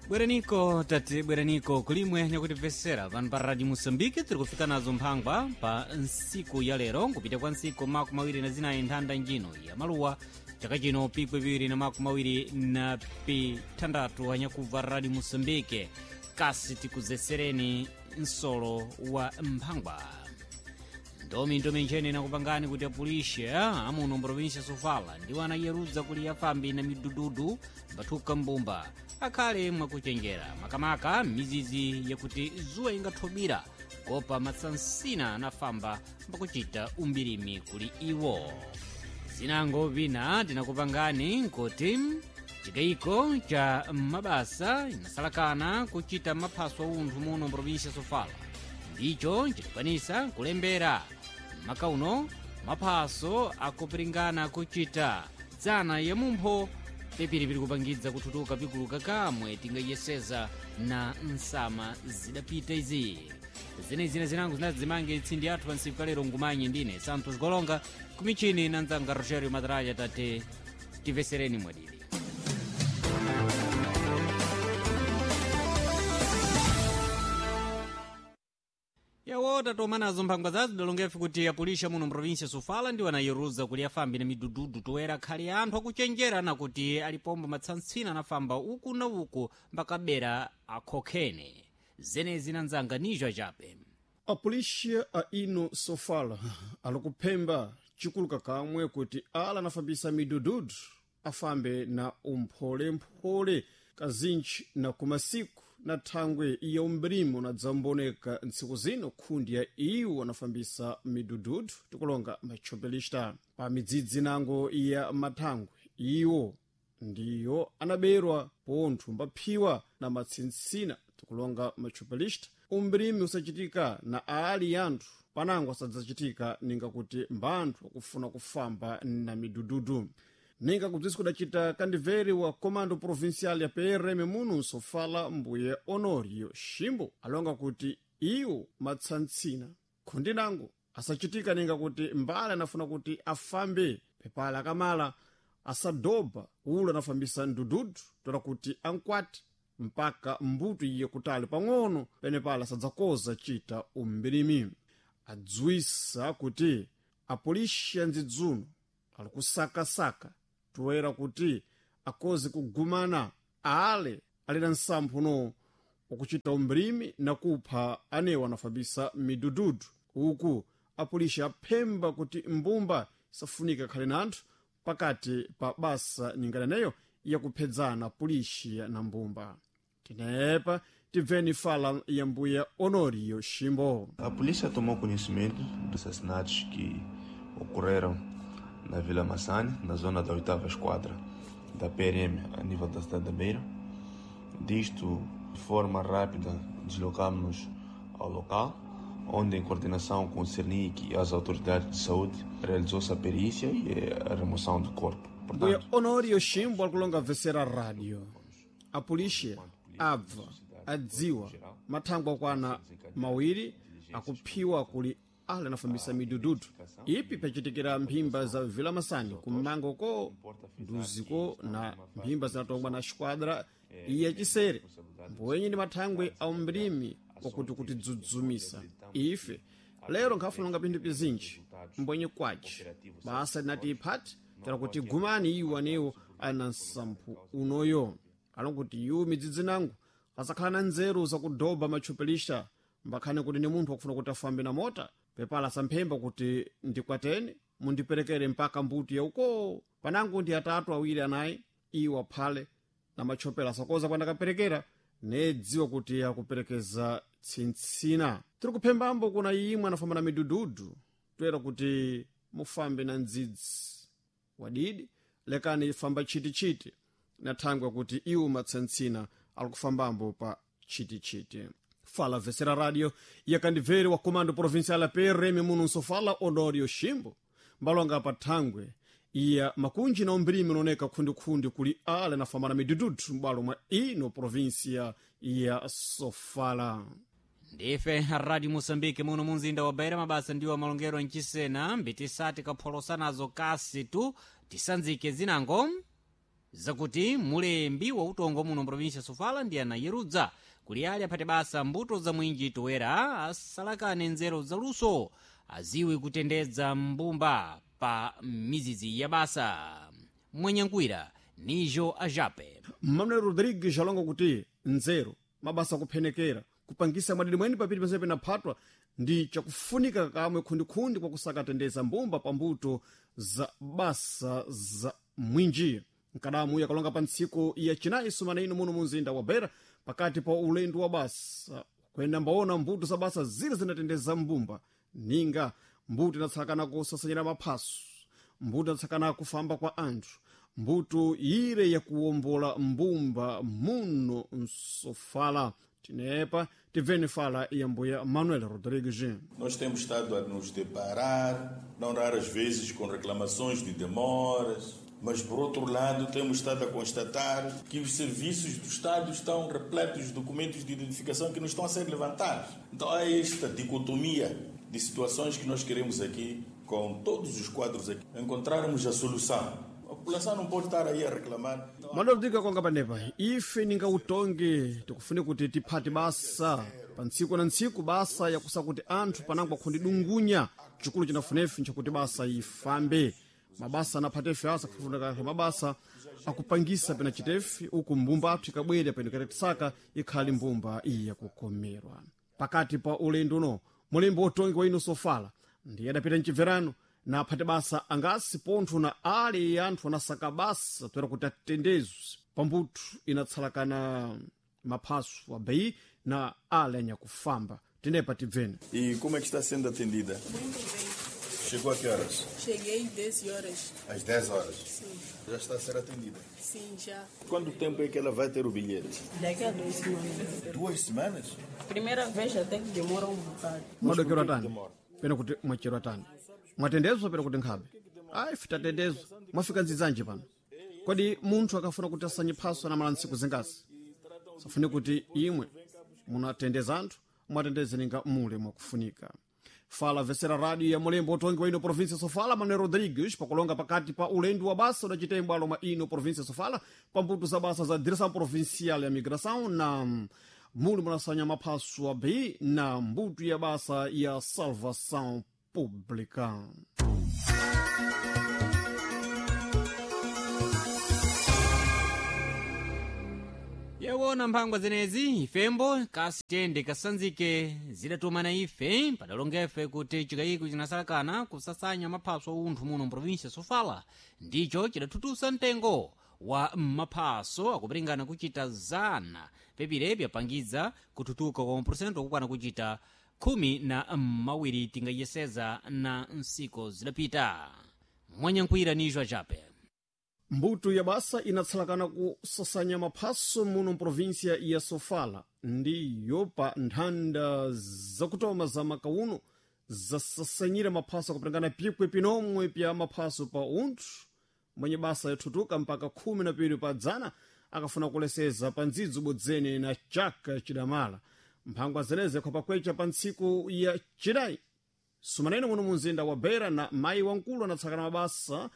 Bweraniko tati bweraniko kulimwe nyakutimvesera pano pa Radio Moçambique. Tiri kufika nazo mphangwa pa ntsiku ya lero, nkupita kwa ntsiku 24 nthanda njino ya maluwa chaka chino pikwi 2026 anyakubva Radio Moçambique. Kasi tikuzesereni nsolo wa mphangwa ndomi ndomi nchene nakupangani kuti apulishe amuno mprovinsia Sofala ndiwo anayerudza kuli afambi na midududu mbathuka mbumba akhale mwakuchenjera makamaka mizizi yakuti zuwa ingathobira kopa matsansina anafamba mbakuchita umbirimi kuli iwo. Zinango vina tinakupangani nkuti chikayiko cha mabasa inasalakana kuchita maphaso aunthu muno mprovinsia Sofala ndicho chikukwanisa kulembera makauno maphaso akupiringana kuchita dzana ya mumpho pipiripiri kupangidza kuthutuka pikuluka kamwe tingayeseza na nsama zidapita izi. Zenezi zinango zinadzimange tsindi athu pansiku kalero ngumanye ndine Santos Golonga kumichini na nzanga Rogerio Madraya. Tate tivesereni mwadiri. Yawo tatoma nazo mphangwa zazo dalongefe kuti apulisha muno mprovinsia Sofala ndiwo anayeruza kuli afambi na midududu toera khali anthu akuchenjera nakuti alipombo matsantsina anafamba uku na uku mbakabera akhokhene zenezi na nzanga nijo achape. Apolixia a ino Sofala alikuphemba chikuluka kamwe kuti ala anafambisa midududu afambe na umpholemphole kazintchi na kumasiku na thangwe ya umbrimo na dzamboneka ntsiku zino khundi ya iwo anafambisa midududu tikulonga matchopelista pa midzidzi nango ya mathangwe iwo ndiyo anaberwa pontho mbaphiwa na matsintsina tikulonga matchopelista. Umbrimi usachitika na ali anthu panango asadzachitika ninga kuti mbanthu akufuna kufamba na midududu. Ninga kubzisi kudacita kandiveri wa comando provincial ya PRM muno Sofala mbuye Honorio Shimbo alonga kuti iwo matsantsina khundi nango asachitika ninga kuti mbale anafuna kuti afambe pepala akamala asadobha ulo anafambisa ndududu tola kuti ankwati mpaka mbuto iye kutali pang'ono penepala asadzakoza chita umbirimi. Adziwisa kuti apolisi andzidzuno ali kusakasaka toera kuti akoze kugumana ale ali na nsamphuno wakuchita umbrimi na kupha anewo anafambisa midududu. Uku apolisi aphemba kuti mbumba isafunika khale na anthu pakati pa basa ningananeyo yakuphedzana polisi na mbumba. Tinepa tibveni fala ya mbuya Honorio Shimbo. A polícia tomou conhecimento dos assassinatos que ocorreram na Vila Massane, na zona da 8ª Esquadra da PRM, a nível da cidade da Beira. Disto, de forma rápida, deslocámos-nos ao local, onde, em coordenação com o CERNIC e as autoridades de saúde, realizou-se a perícia e a remoção do corpo. Mbuya Honorio Shimbo akulonga vesera rádio. A polícia abva adziwa mathangwe akwana mawiri akuphiwa kuli ale anafambisa midududu ipi pachitikira mphimba za Vila Masani kummango ko nduziko na mphimba zinatongwa na xquadra iya chisere mbwenye ndi mathangwe a umbrimi wakuti kutidzudzumisa ife lero nkhafunanga pinthu pizinji mbwenye kwaci basa linati iphati tera kuti gumani iwo anewo ali na nsamphu unoyo alonkuti iwo midzidzi nangu asakhala na nzeru zakudoba matchopelista mbakhane kuti ni munthu wakufuna kuti afambe na mota pepala samphemba kuti ndikwateni mundiperekere mpaka mbuti yauko panango ndi atatu awiri anayi iwo aphale na matchopela asakoza kwandakaperekera nedziwa kuti akuperekeza tsintsina. Tiri kuphembambo kuna imwe anafamba na midududu toera kuti mufambe na ndzidzi wadidi lekani famba chitichiti na thangwe kuti iwo matsantsina ali kufambambo pa chitichiti. Fala vesera rádio yakandibveri wa comando provincial ya PRM muno Nsofala Honorio Shimbo mbalonga pa thangwe iya makunji na umbrimi unaoneka khundikhundi kuli ale anafamba na midududu m'bwalo mwa ino provinsia ya Sofala. Ndife Radio Moçambique muno munzinda wa Beira. Mabasa ndiwo amalongero mchisena mbitisati kapholosa nazo kasi tu tisanzike zinango. Zakuti mulembi wa utongo muno mprovinsia Sofala ndi anayerudza kuli ali aphate basa mbuto za mwinji toera asalakane nzeru zaluso aziwe kutendedza mbumba pa mizizi ya basa. Mwenyankwira nijo ajape. Manuel Rodrigues alonga kuti nzeru mabasa akuphenekera kupangisa mwadidi mweni papiri pense penaphatwa ndi chakufunika kamwe khundikhundi kwakusakatendeza mbumba pa mbuto za basa za mwinji. Mkadamu yakalonga pa ntsiku ya chinayi sumana ino muno munzinda wa Beira pakati pa ulendo wa basa kuyenda mbaona mbuto za basa zile zinatendeza mbumba ninga mbuto inatsakana kusasanyira maphaso, mbuto inatsakana kufamba kwa anthu, mbuto ire yakuwombola mbumba muno msofala. Tinepa tibveni fala ya mbuya Manuel Rodrigues. Nós temos estado a nos deparar, não raras vezes, com reclamações de demoras, mas, por outro lado, temos estado a constatar que os serviços do Estado estão repletos de documentos de identificação que não estão a ser levantados. Então, há esta dicotomia de situações que nós queremos aqui, com todos os quadros aqui, encontrarmos a solução. A população não pode estar aí a reclamar. Manuel Rodrigues akonga panepa ife ninga utongi tikufune kuti tiphate basa pa ntsiku na ntsiku basa yakusa kuti anthu panango akhundidungunya chikulu chinafunefe nchakuti basa ifambe. Mabasa anaphatefe asa kufunika mabasa akupangisa pena chitefe uku mbumba athu ikabwera peno ikatisaka ikhali mbumba iyi yakukomerwa. Pakati pa ulendo uno mulembi wotongi wa ino Sofala ndiye adapita mchibverano na aphate basa angasi pontho na ali anthu anasaka basa toera kuti atendezwe pambuto inatsalakana maphaso abeyi na ali anyakufamba. Tenepa tibveni. E como é que está sendo atendida? Muito bem. Chegou a que horas? Cheguei 10 horas. Às 10 horas. Sim. Já está a ser atendida. Sim, já. Quanto tempo é que ela vai ter o bilhete? Daqui a 2 semanas. 2 semanas? Primeira vez até que demora um bocado. Mwadokero atani pena kuti mwachero atani mwatendezwa pena kuti nkhabe ayi fitatendezwa mwafika nzidzanji pano. Kodi munthu akafuna kuti asanye phaso anamala ntsiku zingasi safune kuti imwe munatendeza anthu mwatendeze ninga mule mwakufunika. Fala vesera rádio ya mulembo utongi wa ino província Sofala Manuel Rodrigues pakulonga pakati pa ulendo wa basa udacitembwa aloma ino província Sofala pa mbuto za basa za Direção Provincial ya Migração na muli munasanya maphaso a B na mbuto ya basa ya Salvação Pública. Yawona mphangwa zenezi ifembo kasi tende kasanzike zidatumana ife padalongefe kuti chikayiko chinasalakana kusasanya maphaso aunthu muno mprovinsia Sofala ndicho chidathutusa mtengo wa maphaso akupiringana kuchita zana pepire pyapangidza kuthutuka kwa maporosento okukwana kuchita 12 tingayeseza na nsiku zidapita. Mwanyankhwira nijo achape. Mbuto ya basa inatsalakana kusasanya maphaso muno mprovinsia ya Sofala ndiyo pa nthanda zakutoma za makauno zasasanyira maphaso akupitangana pikwe pinomwe pya maphaso pa unthu mwenye basa yathutuka mpaka 12 pa dzana akafuna kuleseza pa ndzidzo bodzene na chaka chidamala. Mphangwa zeneze khwapakwecha pa ntsiku ya chinayi sumanene muno munzinda wa Beira na mayi wamkulu anatsakana mabasa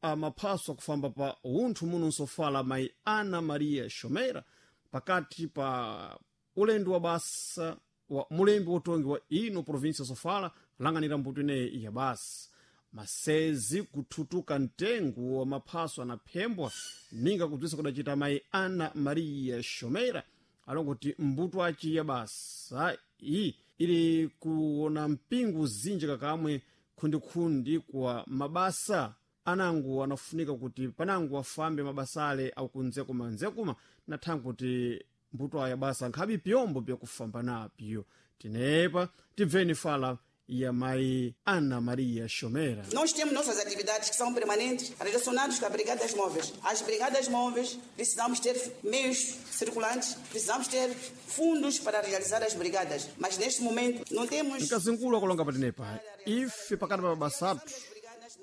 amaphaso akufamba pa unthu muno nsofala mayi Ana Maria Shomera pakati pa ulendo wa basa wa mulembi wotongi wa ino província Sofala lang'anira mbuto ineyi ya basa. Masezi kuthutuka mtengo wa maphaso anaphembwa ninga kubzisa kudacita mayi Ana Maria Shomera alongo kuti mbuto aci ya basa iyi ili kuona mpingu zinji kakamwe khundikhundi kwa mabasa anangu anafunika kuti panangu afambe mabasa ale akunzekuma nzekuma nathangu kuti mbuto aya basa nkhabe pyombo pyakufamba napyo. Tinepa tibveni fala ya mayi Ana Maria Shomera. Nós temos nossas atividades que são permanentes relacionadas com as brigadas móveis. As brigadas móveis precisamos ter meios circulantes, precisamos ter fundos para realizar as brigadas. Mas neste momento não temos. Mkazinkulu akulonga patinepa ife pakati pa mabasa athu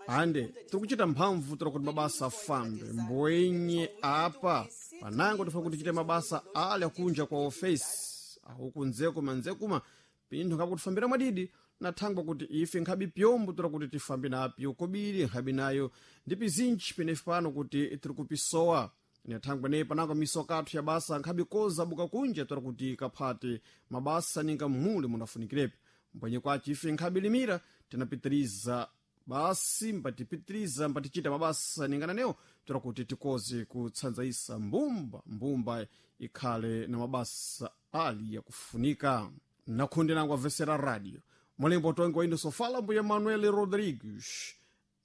ande tikuchita mphamvu tira kuti mabasa afambe mbwenye apa panango tifuna kuti tichite mabasa ali akunja kwa ofesi akukunzekuma nzekuma pinthu ngakutifambira mwadidi. Na thangwa kuti ife nkhabi pyombo tora kuti tifambe napyo kobiri nkhabi nayo ndi pizinji penefe pano kuti tiri kupisowa. Na thangwa neyi panango misoka athu ya basa nkhabi koza buka kunja tora kuti kaphate mabasa ninga mmuli munafunikirepo. Mbwenye kwace ife nkhabi limira tinapitiriza basi mbatipitiriza mbatichita mabasa ningananewo tora kuti tikoze kutsanzaisa mbumba mbumba ikhale na mabasa ali yakufunika. Nakhunde nangu avesera radio mulembo tongi wa indo sofala mbuya Manuel Rodrigues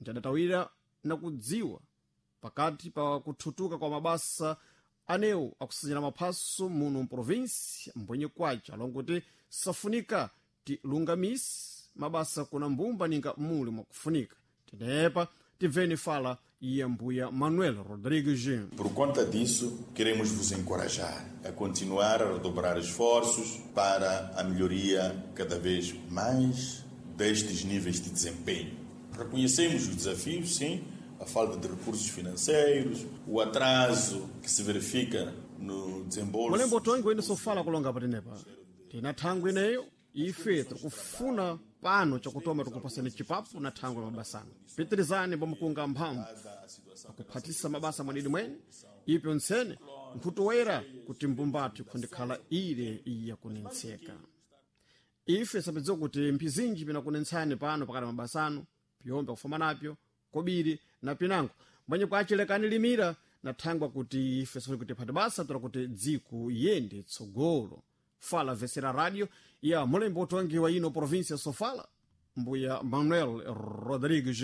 ntadatawira nakudziwa pakati pa kuthutuka kwa mabasa anewo akusanyira maphaso muno mprovinsi mbwenye kwace alongo kuti safunika tilungamise mabasa kuna mbumba ninga muli mwakufunika. Tenepa tibveni fala ya mbuya Manuel Rodrigues. Por conta disso, queremos vos encorajar a continuar a redobrar esforços para a melhoria cada vez mais destes níveis de desempenho. Reconhecemos os desafios, sim, a falta de recursos financeiros, o atraso que se verifica no desembolso. Mulembo tongi wene sofala kulonga patenepa tina thangwi ineyo ife tikufuna pano chakutoma tikupasani chipapu na thangwi mabasano pitirizani pamukunga mphamvu akuphatisa mabasa mwadidi mwene ipyo ntsene nkhutuwera kuti mbumbatu ikhundikhala ile iyakunentseka. Ife sapidziwa kuti mphizinji pinakunentsani pano pakati mabasano pyombe kufamba napyo kobiri na pinango mbwenye kwachilekani limira na thangwa kuti ife sifuni kuti phati basa tola kuti dziko yende tsogolo. Fala vesera radio ya mulembo utongi wa ino província Sofala mbuya Manuel Rodrigues.